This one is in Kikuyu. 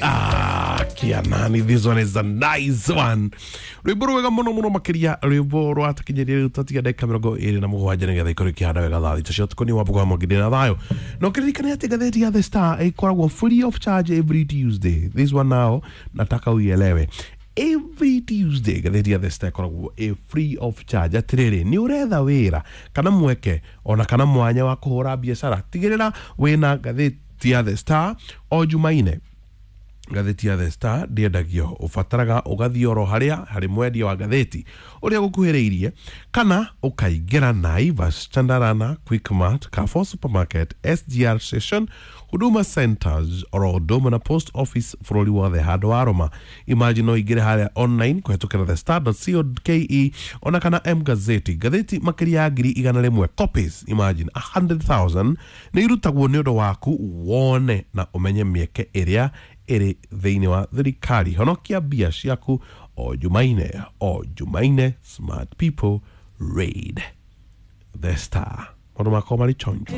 Ah, kianani, this one is a nice one. Rwimbo rwega muno muno makiria, rwimbo rwatakinyiria riu tatiga ndagika 27 nigetha ikorwo ikihanda wega thaa 3 cia ũtukũ. Nĩ wambuga mwangindĩ na thayũ no kĩririkane atĩ ngathĩti ya The Star ĩkoragwo free of charge every Tuesday. This one now nataka uielewe, every Tuesday ngathĩti ya The Star ĩkoragwo ĩ free of charge. Atĩrĩrĩ, nĩ ũretha wĩra kana mweke ona kana mwanya wa kũhũra biacara, tigĩrĩra wĩna ngathĩti ya The Star o Jumaine. Ngathĩti ya The Star ndĩendagio, ũbataraga ũgathiĩ oro harĩa harĩ mwendia wa ngathĩti ũrĩa gũkuhĩrĩirie, kana ũkaingĩra Naivas, Chandarana, Quickmart, Carrefour Supermarket, SGR Station, Huduma Centers, oro ũndũ ũmwe na post office bũrũri wothe handũ wa Roma. Imagine, no ingĩre harĩa online kũhetũkĩra thestar.co.ke ona kana M Gazeti. Ngathĩti makĩria ya 100,000 copies, imagine 100,000, nĩ irutagwo nĩ ũndũ waku wone na ũmenye mĩeke ĩrĩa ĩrĩ thĩinĩ wa thirikari. Honokia mbia ciaku o Jumaine, o Jumaine. Smart people read The Star. Maũndũ makwa marĩ chonjo.